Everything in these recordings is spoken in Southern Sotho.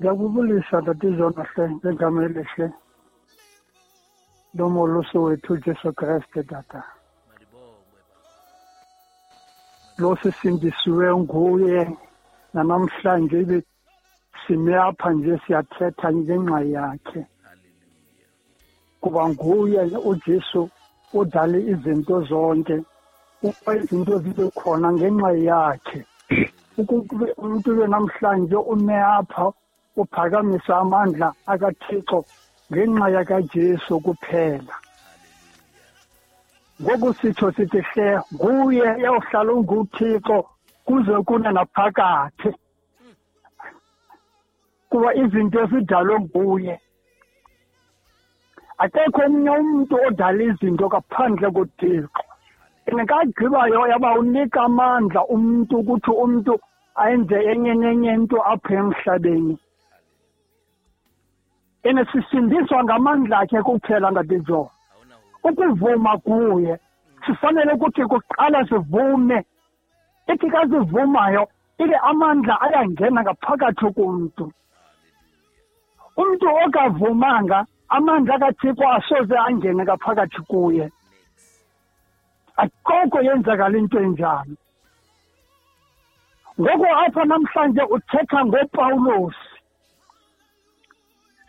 Ngiyakubulisa Tata Jonahle ngegama elihle lomolusi wethu Jesu Kriste tata. Lo sisindisiwe nguye namhlanje ibe sime apha nje siyathetha ngenxa yakhe. Kuba nguye uJesu odale izinto zonke, ukuba izinto zibe khona ngenxa yakhe. Ukube umuntu namhlanje ume apha uphakamisa amandla akaThixo ngenxa yakaJesu kuphela. Ngoku sitsho sithi hle nguye yawuhlala unguThixo kuze kune naphakathi, kuba izinto zidalwe nguye. Akekho omnye umuntu odala izinto ngaphandle koThixo. Engakagqibayo yaba unika amandla umuntu ukuthi umuntu ayenze enye nenye into apha emhlabeni. Ene sisindiswa ngamandla akhe kuphela ngadijo. Ukuvuma kuye sifanele ukuthi kuqala sivume. Ithi kazivumayo ibe amandla ayangena ngaphakathi kumntu. Umuntu okavumanga amandla kaThixo asoze angene ngaphakathi kuye. Akukho yenzakala into enjalo. Ngoku apha namhlanje uthetha ngoPawulos.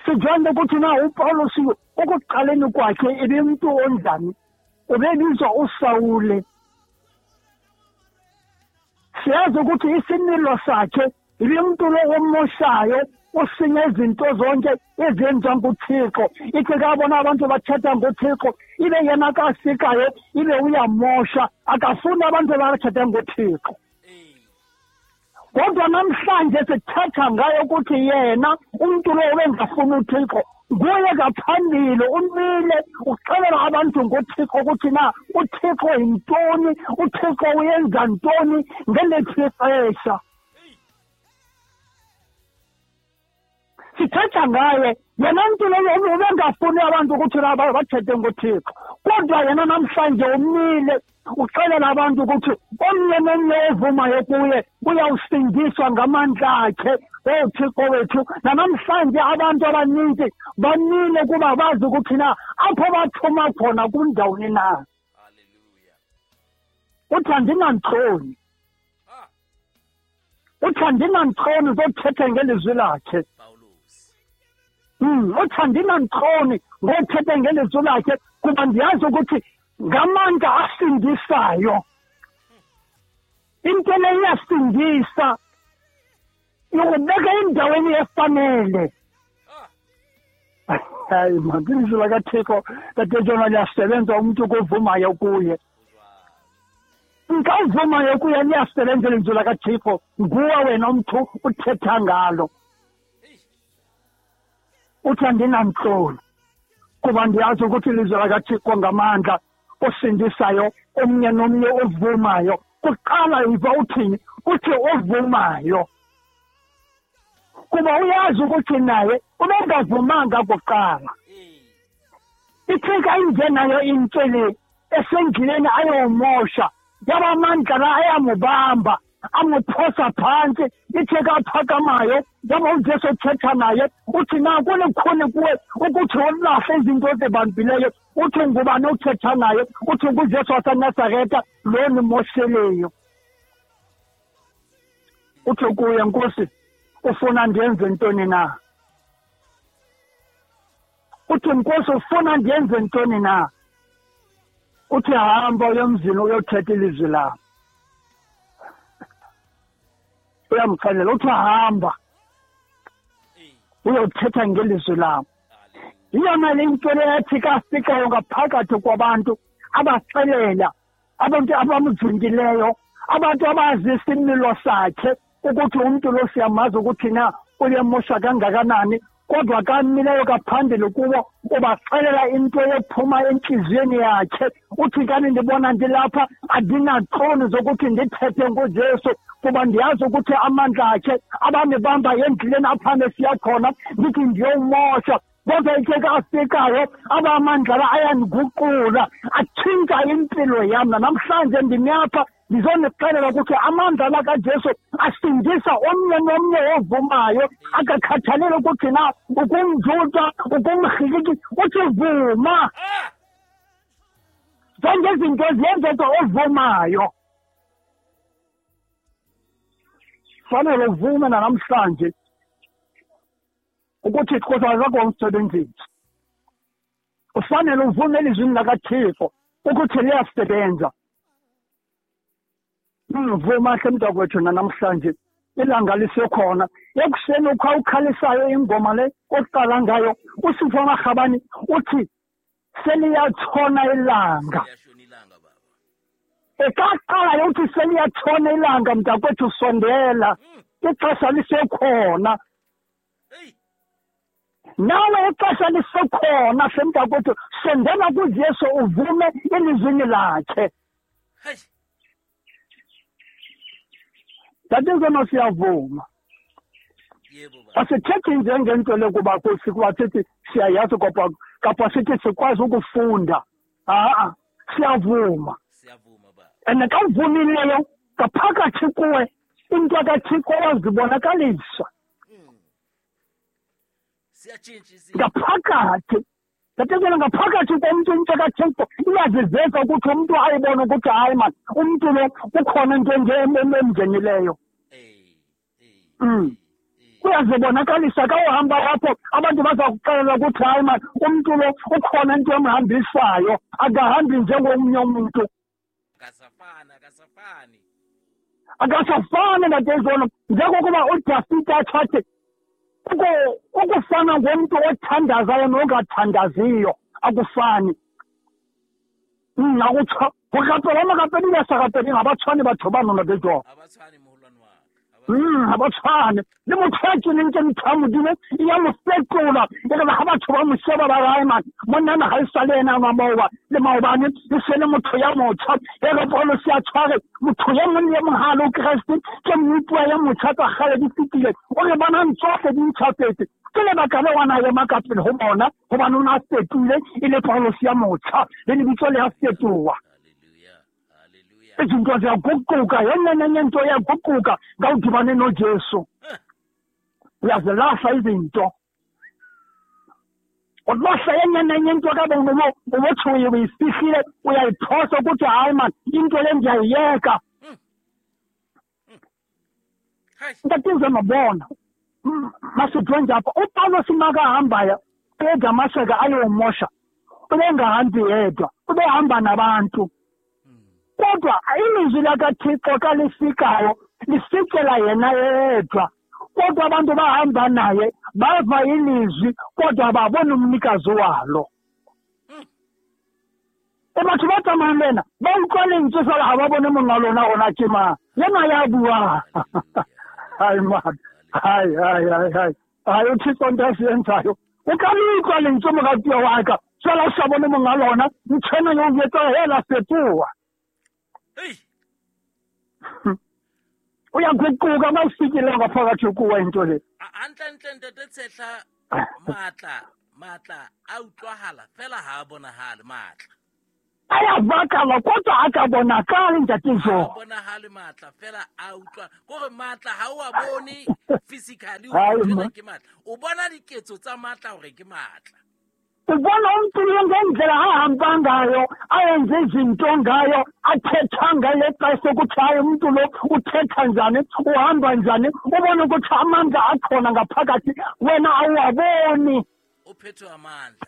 Sijonge ukuthi na uPawulos ukuqaleni kwakhe ebemntu onjani, ubebizwa uSawule. Siyazi ukuthi isimilo sakhe ibimntu lo omoshayo, usinye izinto zonke ezenziwa nguThixo. Ithi kabona abantu bathetha ngoThixo, ibe yena kasikayo ibe uyamosha, akafuni abantu abathetha ngoThixo. Kodwa namhlanje sithetha ngayo ukuthi yena umuntu lo obengafuni uThixo nguye ngaphambili umile uxelela abantu ngoThixo ukuthi na uThixo yintoni, uThixo uyenza ntoni ngeliphi ixesha. Sithetha ngaye yena mntu lowo ubengafuni abantu ukuthi bathethe ngoThixo, kodwa yena namhlanje umile uxelela abantu ukuthi omnye nomnye ovumayo kuye uyawusindiswa ngamandla akhe oThixo wethu. Nanamhlanje abantu abaninzi bamile kuba bazi ukuthi na apho bathuma khona kundawoni na. Uthi andinantloni, uthi andinantloni zothetha ngelizwi lakhe. Uthi andinantloni ngothetha ngelizwi lakhe kuba ndiyazi ukuthi ngamandla asindisayo. Into le iyasindisa, yokubeka endaweni efanele. Hayi man, ilizwi lakaThixo Tata liyasebenza umuntu kovumayo kuye. Nkavumayo kuye liyasebenza ilizwi lakaThixo, nguwe wena umntu uthetha ngalo. Uthi andinantloni kuba ndiyazi ukuthi ilizwi lakaThixo ngamandla osindisayo omnye nomnye ovumayo. Kuqala iva uthini? Uthi ovumayo, kuba uyazi ukuthi naye ubengavumanga kuqala. Ithi ingenayo intshele esendleleni ayomosha, yaba amandla la ayamubamba amuphosa phansi. Ithi kaphakamayo yaba uJesu uthetha naye uthi na kulikhuni kuwe ukuthi ulahle izinto ozibambileyo. Uthi ngubani uthetha naye? Uthi nguJesu waseNazaretha lo nimosheleyo. Uthi kuye, Nkosi, ufuna ndiyenze ntoni na? Uthi Nkosi, ufuna ndiyenze ntoni na? Uthi hamba uye emzini uyothetha ilizwi lam. Uyamxelela uthi hamba uyothetha ngelizwi lam. Iyona le nto leyathi kafikayo ngaphakathi kwabantu, abaxelela abantu abamzungileyo, abantu abazi isimilo sakhe ukuthi umuntu lo siyamazi ukuthi na uyemosha kangakanani, kodwa kamileyo kaphambili kubo ubaxelela into ephuma entliziyweni yakhe. Uthi kani ndibona ndilapha andinaxoni zokuthi ndithethe ngoJesu kuba ndiyazi ukuthi amandla akhe abandibamba endleleni apha nesiya khona, ndithi ndiyomosha. Kodwa ithe kafikayo abamandla la ayandiguqula, atshintsha impilo yam. Namhlanje ndimi apha Ndizonixelela ukuthi amandla la kaJesu asindisa omnye nomnye ovumayo, akakhathaleli ukuthi na ukumjuda, ukumGriki, uthi vuma. Zonke izinto ziyenzeka ovumayo. Fanele uvume nanamhlanje ukuthi Xhosa akakho. Ufanele uvume elizwini lakaThixo ukuthi liyasebenza. Vuma hle mntakwethu nanamhlanje, ilanga lisekhona. Ekuseni ukhalisayo ingoma le oqala ngayo, uSipho Makhabane uthi seliyatshona ilanga. Ekaqala uthi seliyatshona ilanga mntakwethu, sondela, ixesha lisekhona. Nawe ixesha lisekhona hle mntakwethu, sondela kuJesu uvume elizwini lakhe. Tatizona siyavuma. Asithethi njengento lokuba kuba sithi siyayazi kapa sithi sikwazi ukufunda. A-a, siyavuma. And xa uvumileyo ngaphakathi kuwe into kaThixo wazibonakalisa. Ngaphakathi. Tatizona ngaphakathi komntu into kaThixo iyaziveza ukuthi umntu ayibone ukuthi hayi man, umntu lo kukhona into emngenileyo. Kuyazibonakalisa xa uhamba apho abantu baza kuxelela ukuthi hayi man, umntu lo ukhona into emhambisayo, akahambi njengomnye umntu. Akasafani natezona. Njengokuba uDafide athathe ukufana ngomntu othandazayo nongathandaziyo akufani. Go rapela makapedi ba sa rapeleng ga ba tshwane batho ba nona bejo. Ga ba tshwane. Le motho a keneng ke ntho ya Modimo e ya mo fetola. E re ga batho ba mo sheba ba re man, monna ga e sa le ena wa maoba le maobane, e se le motho ya motjha. E re Paulo se a tshware motho ya mong le mong ha le Kreste ke mmutlwa ya motjha tsa kgale di fetile. O re bonang tsohle di ntjhafetse. Ke lebaka le wana ema ka pele ho bona hobane o na fetile e le Paulo se ya motjha le lebitso le a fetoha. Izinto ziyaguquka, yenye into iyaguquka xa udibane noJesu. Uyazilahla izinto. Ulahla yenye nenye into kabe ubothi uyifihlile, uyayiphosa ukuthi hayi man, into le ndiyayiyeka. Ntatizwe mabona masudwenje apha uPawulos makahambayo eDamaseka ayomosha, ubengahambi yedwa, ubehamba nabantu. Kodwa ilizwi lakaThixo xa lifikayo lifikela yena yedwa. Kodwa abantu bahamba naye bava ilizwi kodwa babona umnikazi walo. Batho ba tsamayang le ena ba utlwa lentswe fela ga ba bone monga lona gona ke mang, yena ya bua. Hayi man, hayi hayi hayi hayi hayi, uThixo nto asiyenzayo. O ka le utlwa lentswe moratuwa wa ka, fela o sa bone monga lona, ntho ena yo o etsa hela fetoha. Uyaguquka ma ufikile ngaphakathi kuwe into le. Hantle ntate Tshehla, matla a utlwahala fela ha a bonahale matla. Ayavakala kodwa akabonakali ntate Jo. Bonahale matla fela a utlwa kore matla ha o a bone physically o ke matla. O bona diketso tsa matla hore ke matla. Ubona umntu ngendlela ahamba ngayo, ayenze izinto ngayo, athetha ngayo xesha ukuthi hayi umntu lo uthetha njani, uhamba njani, ubone ukuthi amandla akhona ngaphakathi, wena awuwaboni. Uphethwe amandla.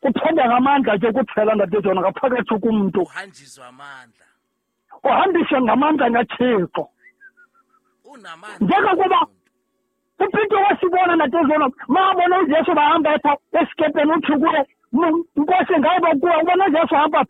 Uphethwe ngamandla ke kuphela ndatezona ngaphakathi kumntu. Uhanjiswa amandla. Uhambiswe ngamandla kaThixo. Unamandla. Njengokuba uPeter wasibona natezona, mabona uJesu bahamba apha esikepeni uthi kuye, Nkosi ngaba kuwe, ubona uJesu hamba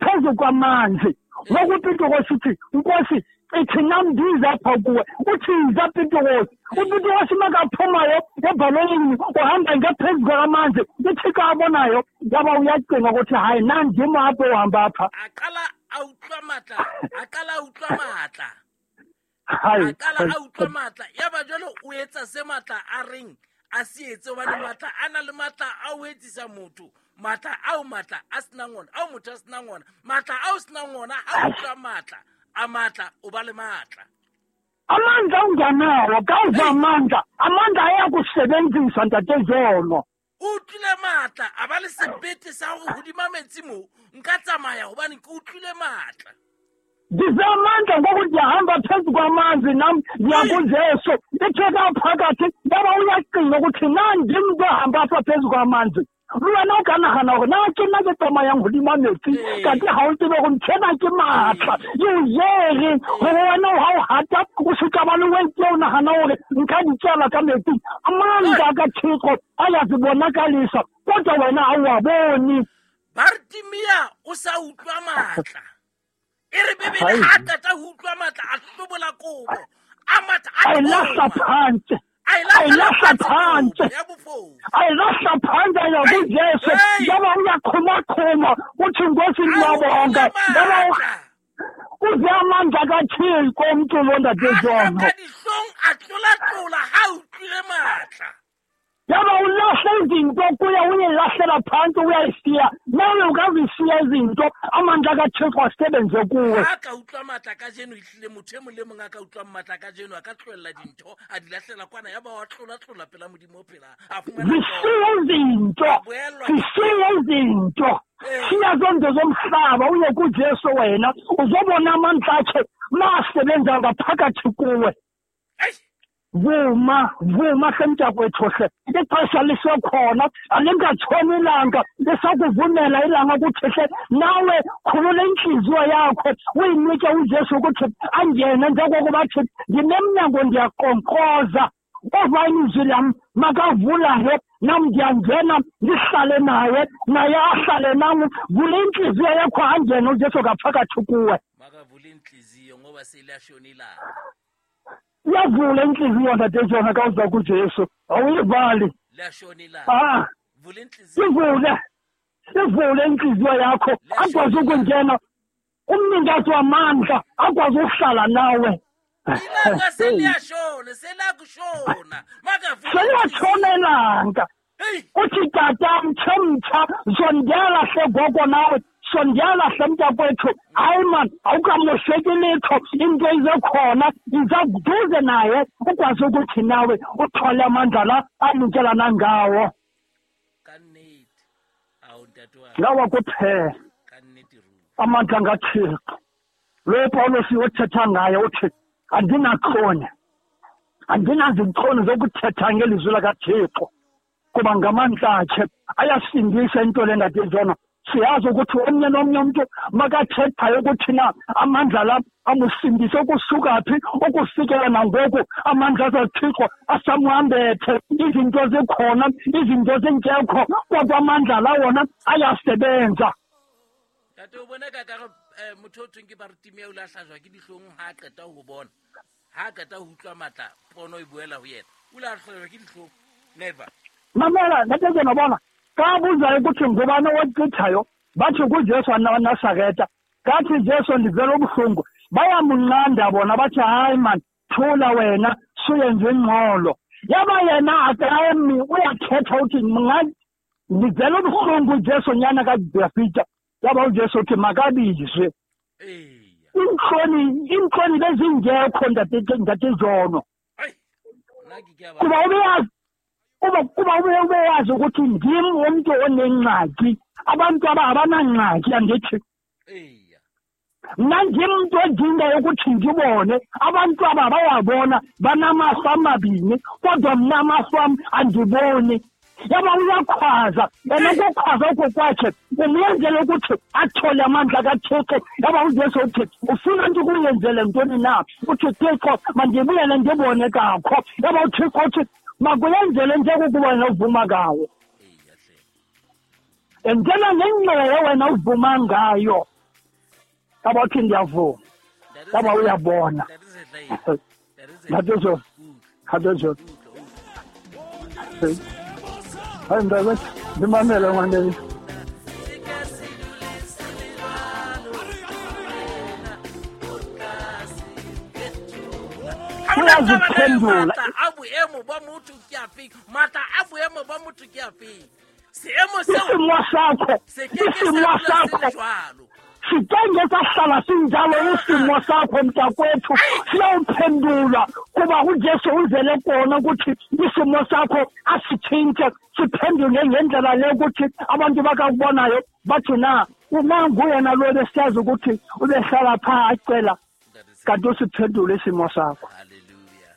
phezu kwamanzi. Ngoku uPeter wasithi, Nkosi ithi nam ndize apha kuwe. Uthi yiza Peter. UPeter wasi makaphumayo ebhalonini uhamba ngaphezu kwamanzi. UThixo abonayo yaba uyacinga ukuthi hayi nandim apho uhamba apha. Aqala a utlwa matla, aqala a utlwa matla. A qala a utlwa matla. Yaba jwale o etsa se matla a reng a se etse hobane matla a na le matla a o etsisa motho. Matla ao matla a senang ona, ao motho a senang ona, matla ao senang ona, ha utlwa matla a matla o ba le matla. Amandla ungenawo, kawuva amandla, amandla ayakusebenzisa Ntate Jono. O utlwile matla, a ba le sebete sa hore hodima metsi mo nka tsamaya hobane ke utlwile matla. Ndive amandla ngoku ndiyahamba phezu kwamanzi nam ndiya kuJesu. Ithe kaphakathi yaba uyacinga ukuthi na ndim umntu ohamba apha phezu kwamanzi. Wena o ka nagana gore na ke nna ke tsamayang godima metsi, kante ga o tsebe gore ntho ena ke maatla e o jere gore wena ga o gata o se ka ba le weight o nagana gore nka di tsela ka metsing. Amandla ka Thixo ayazibonakalisa kodwa wena a o a bone. Bartimea o sa utlwa matla. E re Bibele ha qeta ho utlwa matla a hlobola kobo, a matha a lahla phansi. Ayilahla phansi, ayilahla phansi yakuJesu. Yaba uyaqhumaqhuma uthi Nkosi ngiyabonga. Yaba uze amandla kaThixo umntu lo Ntate Jono. Dihlong a tlolatlola ha utlwile matla. Yaba ulahla izinto kuya uyilahlela phansi uyayishiya. Nawe ungazishiya izinto amandla kaThixo asebenze kuwe. Ha ka utlwa matla kajeno ehlile motho e mong le mong a ka utlwa matla kajeno a ka tlohella dintho a di lahlela kwana ya ba wa tlolatlola pela Modimo o phela a fumana zishiye izinto, zishiye izinto. Shiya zonke zomhlaba uye kuJesu wena uzobona amandla akhe masebenza ngaphakathi kuwe. Vuma, vuma hle mntakwethu hle. Ixesha lisekhona, alingatshoni ilanga, lisakuvumela ilanga ukuthi hle nawe khulula inhliziyo yakho uyinike uJesu ukuthi angene njengokuba athi ndinemnyango ndiyaqonkqoza. Ova ilizwi lam makavulayo nam ndiyangena ndihlale naye, naye ahlale nam. Vula inhliziyo yakho angene uJesu ngaphakathi kuwe. Makavule inhliziyo ngoba seliyashona ilanga. Iyavula inhliziyo Ntate Jono ka uza kuJesu, awuyivali. Liyashona ilanga. Vula inhliziyo. Ivule, ivule inhliziyo yakho akwazi ukungena umnikazi wamandla akwazi ukuhlala nawe. Ilanga seliyashona, selakushona. Makavule. Seliyashona ilanga. Uthi tata mtsha mtsha sondela hle gogo nawe. Sondela hle mntakwethu. Hayi man, awukamosheki litho, into izekhona iza kuduze naye ukwazi ukuthi nawe uthole amandla la anikelana ngawo. Ka nnete. Awu ntate wa. Lawa kuphela. Ka nnete ruri. Amandla ngaThixo. Lo Paulos othetha ngaye uthi andinakhona. Andinazinkono zokuthetha ngelizwi likaThixo. Kuba ngamandla akhe ayasindisa into le Ntate Jono. Siyazi ukuthi omnye nomnye umuntu makathethayo ukuthi na amandla la amusindise ukusuka phi ukufikela nangoku amandla kaThixo asamhambethe. Izinto zikhona, izinto zingekho, kodwa amandla la wona ayasebenza. Ntate o bona ka ka motho o thweng ke Bartimea o la hlajwa ke dihlong ha a qeta ho bona, ha a qeta ho utlwa matla pono e buela ho yena, o la hlajwa ke dihlong. Never. Mamela Ntate Jono bona ka buzayo ukuthi ngubani owachithayo bathi kuJesu waNazaretha. Kathi Jesu ndivela ubuhlungu. Bayamunqanda bona bathi hayi man thula wena suyenze ingxolo. Yaba yena akami uyakhetha uthi ndivela ubuhlungu Jesu nyana kaDavida. Yaba uJesu uthi makabizwe. Inhloni, inhloni bezingekho Ntate Jono. Kuba ubeyazi kuba ubeyazi ukuthi ndim umuntu onengxaki, abantu abanangxaki andithi. Mna ndim umuntu odingayo ukuthi ndibone, abantu aba bayabona banamaso amabini, kodwa mna amaso am andiboni. Yaba uyakhwaza, yena ukukhwaza oko kwakhe umyenzele ukuthi athole amandla kaThixo. Yaba uJesu uthi ufuna nto ukuyenzele ntoni na? Uthi Thixo mandibuyele ndibone kakho. Yaba uThixo uthi makuyenzele njengokuba wena uvuma ngawo. Endlela nengxelo wena uvuma ngayo. Yaba uthi ndiyavuma. Yaba uyabona. Ntate Jono. Ntate Jono. Hayi mntakwethu, ndimamele ngwanele. Uyaziphendula. Matla a boemo ba motho ke a feng? Matla a boemo ba motho ke a feng? Seemo seo Isimo sakho, se ke ke sa isimo dula se le sakho jwalo. Sitenge sahlala sinjalo isimo sakho mntakwethu, siyawuphendula kuba uJesu uzele kona ukuthi isimo sakho asitshintshe, siphendule ngendlela le ukuthi abantu bakakubonayo bathi na uma nguyena lo besiyazi ukuthi ubehlala phaa acela, Ntate Tshepo. Kanti usiphendule isimo sakho. Hallelujah.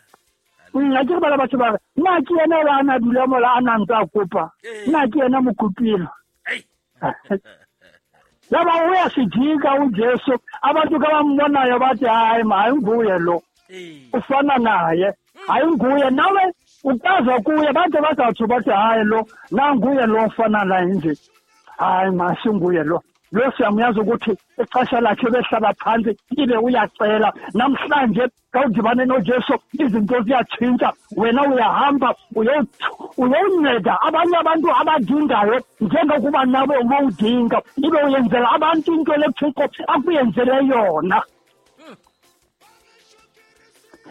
Nna ke re bala batho ba re nna ke yena ola a na dula mola a na ntse a kopa, nna ke yena mokopilo. Ei. Yaba uyasijika uJesu, abantu kabambonayo bathi hayi ma, ayinguye lo, Ee. ufana naye, ayinguye. Nawe ukaza kuye bathi bazatsho bathi hayi lo nanguye lo ufana naye nje, hayi ma, singuye lo, lo siyamuyazi ukuthi ixesha lakhe behlala phantsi ibe uyacela. Namhlanje xa udibane noJesu izinto ziyatshintsha, wena uyahamba uyonceda abanye abantu abadingayo njengokuba nawe ubowudinga, ibe uyenzela abantu into leThixo akuyenzele yona.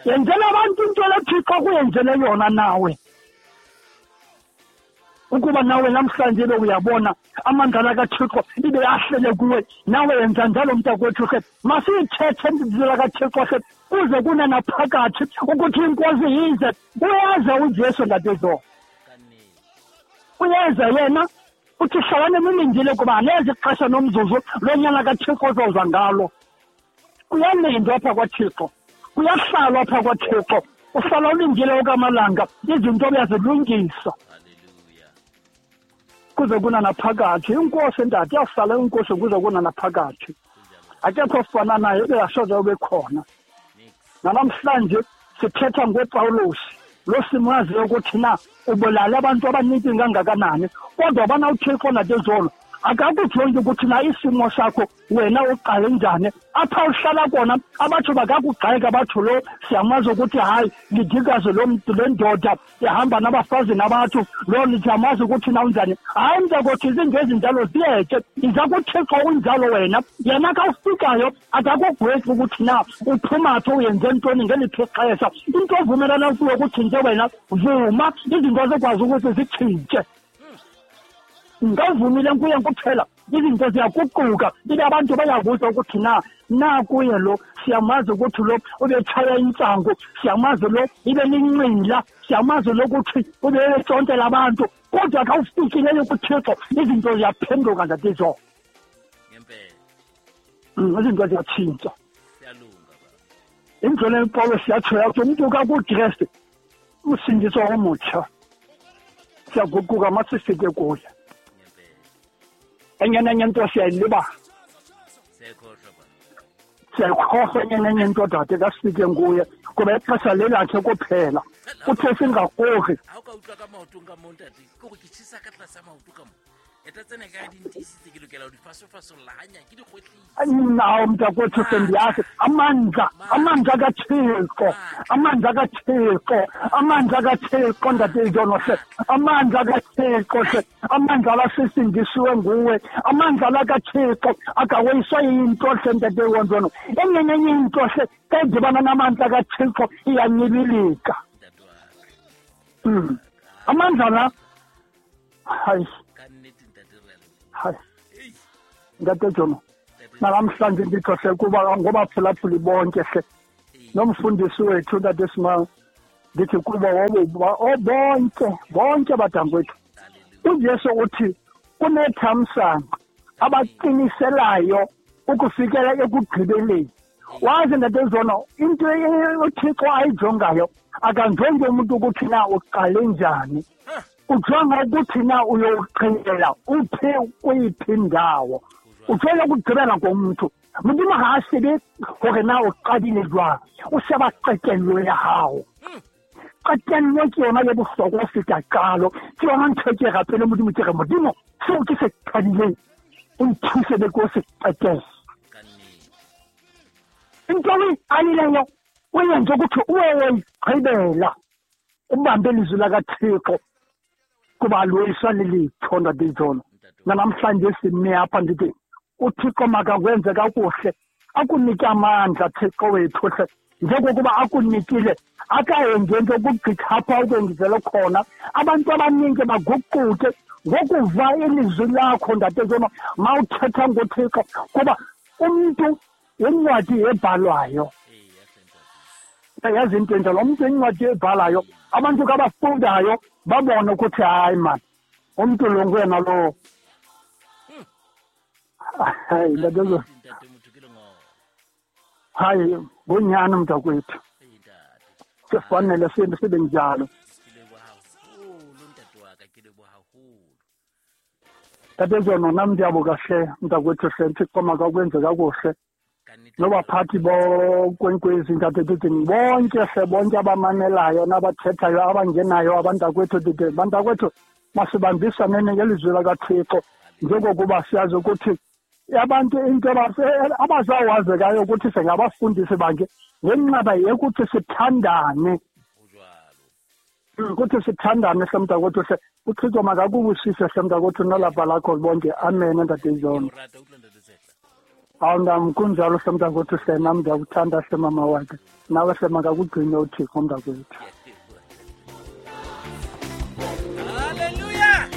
Yenzela abantu into leThixo akuyenzele yona nawe, ukuba nawe namhlanje be uyabona amandla kaThixo ibe ahlele kuwe, nawe yenza njalo mntakwethu. Ke masiyithethe indlela kaThixo ke kuze kunanaphakathi ukuthi inkosi yize. Uyeza uJesu ntatezo, Ka nnete. uyeza yena, uthi hlalani nilindile kuba anezi ixesha nomzuzu lonyana kaThixo ozoza ngalo. Kuyalindwa apha kwaThixo, kuyahlalwa apha kwaThixo, uhlala ulindile okamalanga, izinto uyazilungisa Hallelujah. Kuze kunanaphakathi. Inkosi ntate iyawuhlala inkosi kuze kunanaphakathi, akekho ofana naye, ubengasoze ube khona. Nix. Nanamhlanje sithetha ngoPawulos lo simaziyo ukuthi na ubulale abantu abaninzi kangakanani, kodwa bana uThixo natezolo akakujongi ukuthi na isimo sakho wena uqale njani apha uhlala kona. Abatsho bakakugxeka batsho lo siyamazi ukuthi hayi lidikazi lo mntu, le ndoda ihamba nabafazi nabathu, lo siyamazi ukuthi na unjani. Hayi mntakothi, izinto ezinjalo ziyeke, iza kuThixo unjalo wena. Yena ka ufikayo akakugwexi ukuthi na uphuma phi, uyenze ntoni ngeliphi ixesha. Into ovumelana kuyo ukuthi nje wena vuma, izinto zikwazi ukuthi zitshintshe. Ngawuvumile kuye kuphela, izinto ziyaguquka, ibe abantu bayakuza ukuthi na nakuye lo siyamazi ukuthi lo ubetshaya intsangu, siyamazi lo ibe linxila, siyamazi lo ukuthi ubetshontela abantu, kodwa xa ufikileyo kuThixo izinto ziyaphenduka ntatezo. Ngempela. Izinto ziyatshintsha. Siyalunga baba. Indlela ePawulos yatsho yathi umntu kakuKristu usindiso omutsha, siyaguquka masifike kuye. Ngempela. Enye nenye into siyayilibala. Siyayikhohlwa baba. Siyayikhohlwa enye nenye into dade, kasifike nguye kuba ixesha lelakhe kuphela, uthe singakorhi. Ha o ka utlwa ka maotong ka mo ntate, ke gore ke tjhesa ka tlasa maoto ka mo. Eta tsena ka di ntiisitse, ke lokela ho di fasofasolla hanyane, ke di kgwetlise. Nawo mntakwethu, sendiyazi amandla, amandla kaThixo, amandla kaThixo, amandla kaThixo ntatejono hle, amandla kaThixo hle, amandla lasisindisiwe nguwe, amandla la kaThixo akaweyiswa yinto hle ntatewonjono. Enye nenye into hle xa idibana namandla kaThixo iyanyibilika. Ntate wa ka. Amandla la, hayi. Ka nnete ntate, re a leboha. Hayi. Ei. Ntate Jono, Ntate. Namhlanje nditsho hle kuba ngobaphulaphuli bonke hle, Ee. nomfundisi wethu ntate Simang, ndithi kubo bonke bonke badankwethu, Hallelujah. uJesu uthi kunethamsanqa abaqiniselayo ukufikela ekugqibeleni. Wazi ntate Zono, into uThixo ayijongayo, akanjongi umuntu ukuthi na uqale njani, ujonga ukuthi na uyowuqhela uphi kuyiphi indawo, ujonga ukugqibela ngomntu. Modimo ga a shebe gore na o qadile jwang, o sheba qetello ya hao. Qetello ke yona ye bohlokwa ho feta qalo. Ke yona ntho e ke rapele Modimo, ke re Modimo seo ke se qadileng o nthuse be ke o se qetelle. Ka nnete. Into o e qalileyo o yenze ukuthi uwe woyigqibela, ubambe ilizwi lakaThixo kuba aloyiswa lelitho ntate Jono. Ntate wa Namhlanje sime apha ndithi uThixo makakwenze kakuhle, akunike amandla Thixo wethu hle, njengokuba akunikile Akayenzi into ukugqitha apha ukwenzele khona. Abantu abaninzi baguquke ngokuva ilizwi lakho ntate Zono mawuthetha ngoThixo, kuba umntu incwadi ebhalwayo. Yazi into enjalo, umntu incwadi ebhalayo, abantu kabafundayo babone ukuthi hayi man, umntu lo nguyena lo. Hayi ntate Zono. Hayi ngunyani mntakwethu. Sifanele sibe njalo. Ntate Zono, nam ndiyabuka hle mntakwethu hle, Thixo makakwenze kakuhle. Nobaphathi bonkwenkwezi ntate ndithi bonke hle, bonke abamamelayo nabathethayo abangenayo abantakwethu, ndithi bantakwethu masibambisaneni ngelizwi lakaThixo, njengokuba siyazi ukuthi abantu into abazawazekayo ukuthi singabafundisi bakhe ngenxaba yekuthi sithandane. Ukuthi sithandane hle mntakwethu hle. uThixo makakubusise hle mntakwethu nolapha lakho bonke. Amen ntate Zono. Hawu nam kunjalo hle mntakwethu hle, nam ndiyakuthanda hle mama wakhe. Nawe hle makakugcine uThixo mntakwethu. Hallelujah.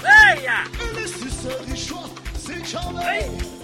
Hey! Hey!